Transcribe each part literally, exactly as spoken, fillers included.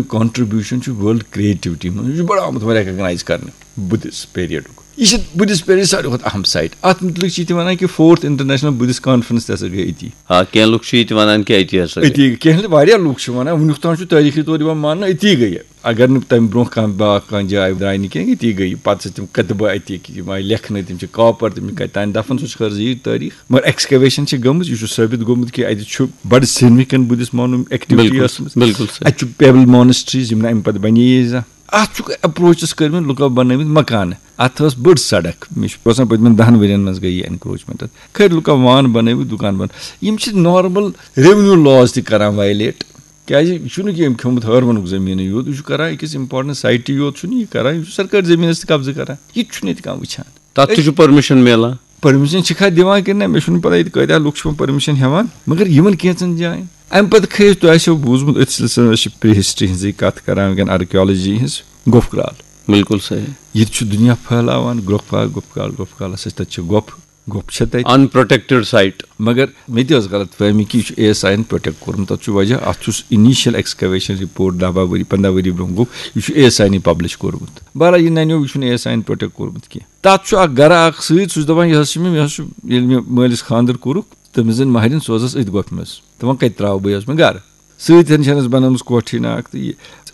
Contribution چھُ world creativity منٛز، یہِ چھُ بڑٕ آمُت وۄنۍ ریکگنائز کرنہٕ بدھسٹ پیریڈُک۔ یہِ چھِ بدھسٹ پیریڈ ساروی کھۄتہٕ اہم سائٹ۔ اتھ مُتعلق چھِ یہِ تہِ ونان کہِ فورتھ انٹرنیشنل بدھسٹ کانفرنس تہِ ہسا گٔے أتی۔ آ، کینٛہہ لُکھ چھِ یہِ تہِ ونان کہِ أتی ہسا گٔے۔ أتی گٔے۔ کینٛہہ واریاہ لُکھ چھِ ونان، وُنیُک تام چھُ تٲریٖخی طور یِوان ماننہٕ أتی گٔے۔ اگر نہٕ تَمہِ برونٛہہ کانٛہہ بیٛاکھ کانٛہہ جاے درٛاے نہٕ کینٛہہ، أتی گٔے۔ پَتہٕ چھِ تِم کتبہٕ اَتہِ، یِم آیہِ لیکھنہٕ، تِم چھِ کاپر، تِم چھِ کَتہِ تام دفن، سُہ چھُ خٲر زیٖٹھ تٲریٖخ۔ مگر ایکسکیویشن چھِ گٔمٕژ، یہِ چھُ ثٲبت گوٚمُت کہِ اَتہِ چھُ بڑٕ سگنیفکینٹ بدھسٹ مانومینٹ ایکٹیوٹی بِلکُل، ٲسمٕژ۔ بِلکُل سر۔ اَتہِ چھُ پیبل مانسٹریز، یِم نہٕ اَمہِ پتہٕ بنے زانٛہہ۔ اَتھ چھُکھ اپروچس کٔرمٕتۍ، لُکو بنٲومٕتۍ مکانہٕ۔ اَتھ ٲس بٔڑ سڑک، مےٚ چھُ باسان پٔتمٮ۪ن دَہن ؤرین منٛز گٔے یہِ انکروچمنٹ۔ اَتھ کھٔتۍ لُکو وان بنٲوِتھ، دُکان بنٲوِتھ۔ یِم چھِ نارمل ریونیو لاز تہِ کران وایلیٹ۔ کیازِ یہِ چھُنہٕ کہِ أمۍ کھیوٚمُت ہٲروَنُک زٔمیٖنٕے یوت، یہِ چھُ کران أکِس امپورٹنٹ سایٹہِ یوت، چھُنہٕ یہِ کران، یہِ چھُ سرکٲرۍ زٔمیٖنَس تہِ قبضہٕ کران، یہِ تہِ چھُنہٕ ییٚتہِ کانٛہہ وٕچھان۔ تَتھ تہِ چھُ پٔرمِشن میلان۔ پٔرمِشن چھِکھا دِوان کِنہٕ نہ، مےٚ چھُنہٕ پَتہ ییٚتہِ کۭتیٛاہ لُکھ چھِ یِمَن پٔرمِشن ہٮ۪وان، مگر یِمَن کینٛژَن جایَن۔ اَمہِ پَتہٕ کھٔتۍ، تۄہہِ آسیو بوٗزمُت، أتھۍ سلسلس منٛز چھِ پرٛی ہسٹری ہٕنٛزٕے کَتھ کران وٕنکٮ۪ن، آرکیالجی ہٕنٛز، گۄپھ کرٛال۔ بِلکُل صحیح۔ ییٚتہِ چھُ دُنیا پھٔہلاوان، گۄپھ کرٛال، گۄپھ کرٛال، گۄپھ کرٛالَس، تَتہِ چھِ گۄپھ، گۄپھ چھےٚ تَتہِ۔ ان پروٹیکٹڈ سائٹ۔ مگر مےٚ تہِ ٲس غلط فہمی کہِ یہِ چھُ اے ایس آی یَن پروٹیکٹ کوٚرمُت۔ تَتھ چھُ وجہ، اَتھ چھُس انیشل ایکسکیویشن رپورٹ دَہ باہ ؤری، پنٛداہ ؤری برونٛہہ گوٚو، یہِ چھُ اے ایس آی یَنٕے پبلش کوٚرمُت۔ بہرحال، یہِ نَنیو، یہِ چھُنہٕ اے ایس آی یَن پروٹیکٹ کوٚرمُت کینٛہہ۔ تَتھ چھُ اکھ گرٕ اکھ سۭتۍ، سُہ چھُ دَپان، یہِ حظ چھُ مےٚ، مےٚ حظ چھُ، ییٚلہِ مےٚ مٲلِس خانٛدر کوٚرُکھ، تٔمِس زَن مہرِنۍ سوزَس أتھۍ گۄپھِ منٛز۔ تہٕ وۄنۍ کَتہِ ترٛاوٕ بہٕ یہِ حظ مےٚ گرٕ؟ سۭتۍ ہن چھَنَس بَنٲومٕژ کوٹھۍ ناکھ تہٕ یہِ۔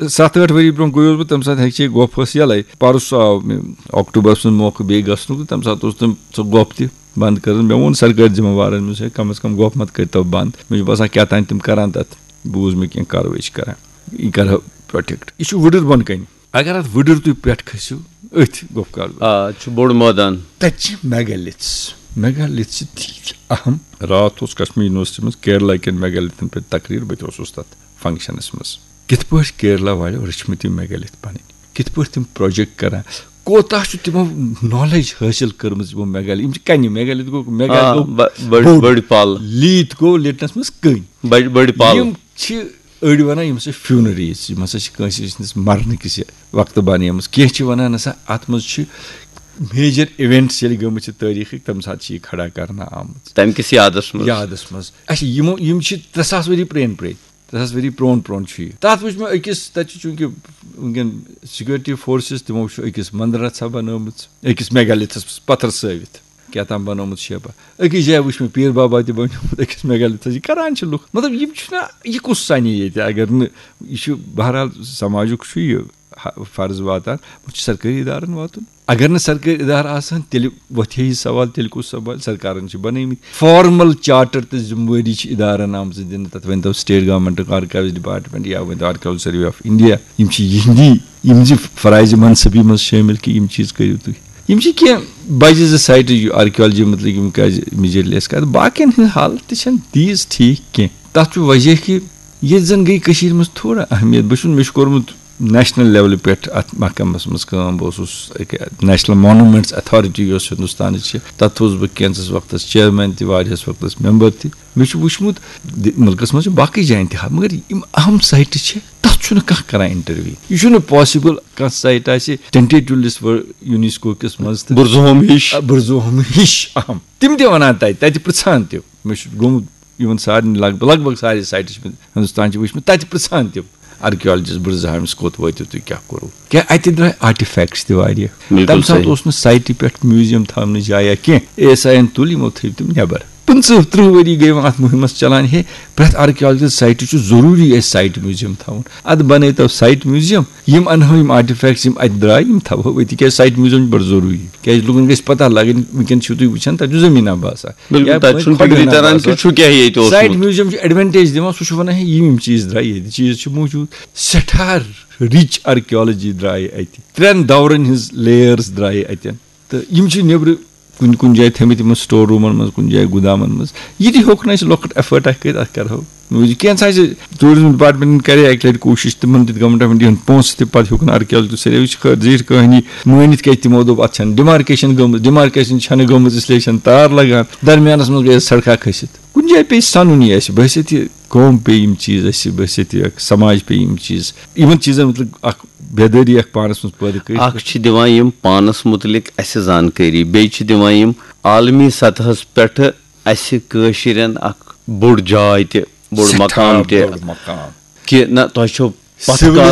ستھ ٲٹھ ؤری برونٛہہ گوٚیوس بہٕ، تَمہِ ساتہٕ ہیٚکہِ ہے گۄپھ ٲس یَلَے۔ پَرُس آو مےٚ اکتوبرَس منٛز موقعہٕ بیٚیہِ گژھنُک تہٕ تَمہِ ساتہٕ اوس تٔمۍ سۄ گۄپھ تہِ بنٛد کٔرٕن۔ مےٚ ووٚن سرکٲرۍ ذمہٕ وارَن، مےٚ ووٚنُس، ہے، کم از کم گۄپھ مت کٔرۍتو بنٛد۔ مےٚ چھُ باسان کیٛاہ تام تِم کَرَن تَتھ، بوٗز مےٚ کینٛہہ کاروٲیی چھِ کَران۔ یہِ کَرٕ ہا پروٹیکٹ۔ یہِ چھُ وُڈٕر بۄن کَنہِ۔ اگر اَتھ وُڈٕر تُہۍ پٮ۪ٹھ کھٔسِو، أتھۍ گۄپھ کال۔ آ، چھُ بوٚڑ مٲدان۔ تَتہِ چھِ میگالِتھس۔ میگالِتھ چھِ تیٖتۍ اہم۔ راتھ اوس کشمیر یونیورسٹی منٛز کیرلا کٮ۪ن میگالِتھن پٮ۪ٹھ تقریر، بہٕ تہِ اوسُس تَتھ فنکشنس منٛز۔ کِتھ پٲٹھۍ کیرلا والیو رٔچھمٕتۍ یِم میگالِتھ پنٕنۍ، کِتھ پٲٹھۍ تِم پروجیکٹ کران، کوتاہ چھُ تِمو نالیج حٲصِل کٔرمٕژ یِمو میگالِتھ۔ یِم چھِ کنہِ، میگالِتھ گوٚو، میگالِتھ آ، گوٚو ب-، بٔڑۍ، بوٚڑ۔ بٔڑۍ پل۔ لیٖتھ گوٚو لِٹنس منٛز کٔنۍ۔ بٔڑۍ، بٔڑۍ پل۔ یِم چھِ أڑۍ ونان، یِم ہسا فیونریز، یِم ہسا چھِ کٲنٛسہِ سٕنٛدِس مرنہٕ کِس وقتہٕ بنیمٕژ۔ کینٛہہ چھِ ونان، نسا، اتھ منٛز چھِ میجر ایونٹس ییٚلہِ گٔمٕتۍ چھِ تٲریخٕکۍ، تمہِ ساتہٕ چھِ یہِ کھڑا کرنہٕ آمٕژ۔ تمہِ کِس یادس منٛز۔ یادس منٛز۔ اچھا، یِمو، یِم چھِ ترٛےٚ ساس ؤری پرٛٲنۍ پرٛٲنۍ۔ ترٛےٚ ساس ؤری پرٛون پرٛون چھُ یہِ۔ تتھ وٕچھ مےٚ أکِس، تتہِ چھُ چوٗنٛکہِ وٕنکیٚن سیکیورٹی فورسز، تِمو چھُ أکِس مندرَسا بنٲومٕژ، أکِس میگالِتھس پتھر سٲوِتھ کیٛاہ تام بنٲومٕژ شیپا۔ أکِس جایہِ وٕچھ مےٚ پیٖر بابا تہِ بنیومُت أکِس میگالِتھس۔ یہِ کران چھِ لُکھ۔ مطلب، یِم چھِنہ، یہِ کُس سنہِ ییٚتہِ؟ اگر نہٕ، یہِ چھُ بہرحال سماجُک چھُ یہِ ہ-، فرض واتان، وۄنۍ چھُ سرکٲری ادارن واتُن۔ اگر نہٕ سرکٲرۍ ادارٕ آسہٕ ہن، تیٚلہِ وۄتھِ ہے یہِ سوال، تیٚلہِ کُس سوال؟ سرکارن چھِ بنٲومٕتۍ فارمل چارٹر تہٕ ذمہٕ وٲری چھِ ادارن آمژٕ دِنہٕ۔ تتھ ؤنۍتو سٹیٹ گورنمنٹُک آرکایوز ڈپارٹمنٹ یا ؤنۍتو آرکیالجی سروے آف انڈیا۔ یِم چھِ یِہنٛدی، یِم زِ فرائض منصبی منٛز شٲمِل کہِ یِم چیٖز کٔرِو تُہۍ۔ یِم چھِ کینٛہہ بجہِ زٕ سایٹہٕ یہِ آرکیالجی متعلق، یِم کیازِ میجرلی اَسہِ کَتھ، باقین ہٕنٛز حالت تہِ چھَنہٕ تیٖژ ٹھیٖک کینٛہہ۔ تَتھ چھُ وجہ کہِ ییٚتہِ زَن گٔے کٔشیٖرِ منٛز تھوڑا اہمیت۔ بہٕ چھُس، مےٚ چھُ کوٚرمُت نیشنل لیولہِ پٮ۪ٹھ اَتھ محکمَس منٛز کٲم۔ بہٕ اوسُس أکہِ نیشنل مانومینٹس اتھارٹی یۄس ہندوستانٕچ چھِ، تَتھ اوسُس بہٕ کینٛژَس وقتَس چیئرمین تہِ، واریاہَس وقتَس ممبر تہِ۔ مےٚ چھُ وٕچھمُت، دِ-، مُلکَس منٛز چھِ باقٕے جایَن تہِ حق، مگر یِم اہم سایٹہٕ چھِ، تَتھ چھُنہٕ کانٛہہ کران انٹرویو۔ یہِ چھُنہٕ پاسبل کانٛہہ سایٹ آسہِ ٹینٹیٹیو لسٹ یونیسکو کِس منٛز تہٕ بُرزہوم ہِش۔ آ، بُرزہوم ہِش اہم۔ تِم تہِ وَنان تَتہِ، تَتہِ پرٛژھان تہِ۔ مےٚ چھُ گوٚمُت یِمن سارنٕے لگ بگ، لگ بگ سارے سایٹہٕ چھِ مےٚ ہندوستان چھِ وٕچھمٕتۍ، تَتہِ پرٛژھان تِم آرکیالجسٹ بُرزہامِس کوٚت وٲتِو تُہۍ، کیٛاہ کوٚروٕ؟ کیٛاہ اَتہِ درٛاے آرٹیفیکٹس تہِ واریاہ۔ بِلکُل تَمہِ ساتہٕ صحیح۔ اوس نہٕ سایٹہِ پٮ۪ٹھ میوٗزیم تھاونٕچ جایا کینٛہہ، اے ایس آی یَن تُل، یِمو تھٲوۍ تِم نٮ۪بر۔ پٕنٛژٕہ تٕرٛہ ؤری گٔے وۄنۍ اَتھ مُہِمَس چلان، ہے، پرٛٮ۪تھ آرکیالجکل سایٹہِ چھُ ضروٗری اَسہِ سایٹہِ میوٗزیم تھاوُن۔ اَدٕ بَنٲیتو سایٹ میوٗزیم، یِم اَنہو یِم آرٹیفیکٹس، یِم اَتہِ درٛاے، یِم تھاوہو أتی، کیٛازِ سایٹ میوٗزیم چھُ بَڑٕ ضروٗری، کیٛازِ لُکَن گژھِ پَتہ لَگٕنۍ، وٕنکیٚن چھِو تُہۍ وٕچھان، تَتہِ چھُ زٔمیٖنہ باسان۔ بِلکُل، یا تَتہِ چھُنہٕ کھۄڈٕ فِکرِ ہنا تَران باسان۔ کہِ چھُ کیٛاہ ییٚتہِ اوسمُت۔ سایٹ میوٗزیم چھُ ایڈوانٹیج دِوان، سُہ چھُ وَنان، ہے، یِم یِم چیٖز درٛاے ییٚتہِ، چیٖز چھِ موٗجوٗد، سٮ۪ٹھاہ رِچ آرکیالجی درٛایہِ اَتہِ، ترٛٮ۪ن دورَن ہٕنٛز لیئرز درٛایہِ اَتٮ۪ن۔ تہٕ یِم چھِ نیٚبرٕ کُنہِ کُنہِ جایہِ تھٲومٕتۍ یِمن سٹور روٗمن منٛز، کُنہِ جایہِ گُدامن منٛز۔ یہِ تہِ ہیوٚک نہٕ اَسہِ لۄکُٹ ایفٲرٹ اکھ کٔرِتھ، اَتھ کرہو۔ کینٛژھا چھِ ٹوٗرِزم ڈپارٹمنٹن کرے اَکہِ لٹہِ کوٗشِش، تِمن دِتۍ گورنمنٹ آف انڈیاہن پونٛسہٕ تہِ، پتہٕ ہیوٚک نہٕ آرکیالجی سروے، یہِ چھِ خٲر زیٖٹھ کہانی۔ مٲنِتھ کیٛازِ تِمو دوٚپ، اَتھ چھَنہٕ ڈیمارکیشن گٔمٕژ، ڈیمارکیشن چھَنہٕ گٔمٕژ، اس لیے چھَنہٕ تار لگان۔ درمیانس منٛز گٔیَس سڑکھا کھٔسِتھ۔ کُنہِ جایہِ پیٚیہِ سَنُن یہِ اَسہِ، بحیثیت یہِ قوم پیٚیہِ یِم چیٖز اَسہِ، بحیثیت یہِ اکھ سماج پیٚیہِ یِم چیٖز، یِمن چیٖزن مُتعلِق اکھ بیدٲری اکھ پانس منٛز پٲدٕ کٔرِتھ۔ اکھ چھِ دِوان یِم پانس مُتعلِق اَسہِ زانکٲری، بیٚیہِ چھِ دِوان یِم عالمی سطحس پٮ۪ٹھ اَسہِ کٲشرٮ۪ن اکھ بوٚڑ جاے تہِ، بوٚڑ سٮ۪ٹھاہ مقام تہِ، بوٚڑ مقام۔ کہِ نہ، تۄہہِ چھو پتھ کالٕچ